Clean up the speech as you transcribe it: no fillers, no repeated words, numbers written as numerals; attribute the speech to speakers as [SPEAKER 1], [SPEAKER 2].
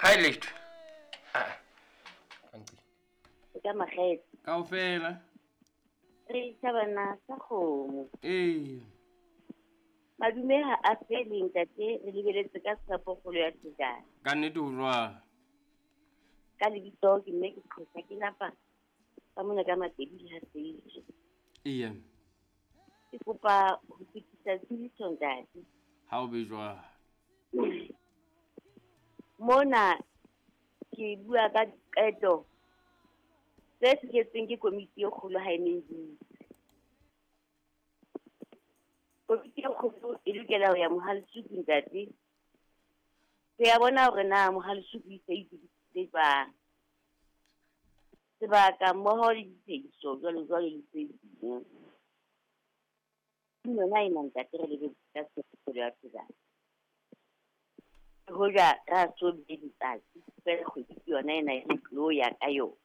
[SPEAKER 1] Ha e letho. Ah. Kanti.
[SPEAKER 2] Ka makgethe.
[SPEAKER 3] Kaofela.
[SPEAKER 2] Re tjhabana sa kgomo.
[SPEAKER 3] Ee.
[SPEAKER 2] Madume ha a fele ntate, re lebeletse ka tshepo kgolo ya thejana.
[SPEAKER 3] Ka nnete ho jwalo.
[SPEAKER 2] Ka lebitso ke mme ke qhosa ke napa ka mona ka Matedi le ha Seitse.
[SPEAKER 3] Ee.
[SPEAKER 2] Ke kopa ho fetisa tsebiso ntate.
[SPEAKER 3] Ha o be jwalo.
[SPEAKER 2] Mona ke bua ka diqeto tse fihletsweng ke komiti e kgolo ha e ne e dutse. Komiti e kgolo e lokela ho ya Mohalesuku ntate. Ho ya bona hore na Mohalesuku e se e itokisitse jwang. Sebaka mmoho le dithehiso jwalo jwalo le tse ding. Yona ena ntate re lebetse ka tshepo ya thejana. Hoja ra so be letsatsi fela kgwedi ke yona ena e tlo ya ka yona.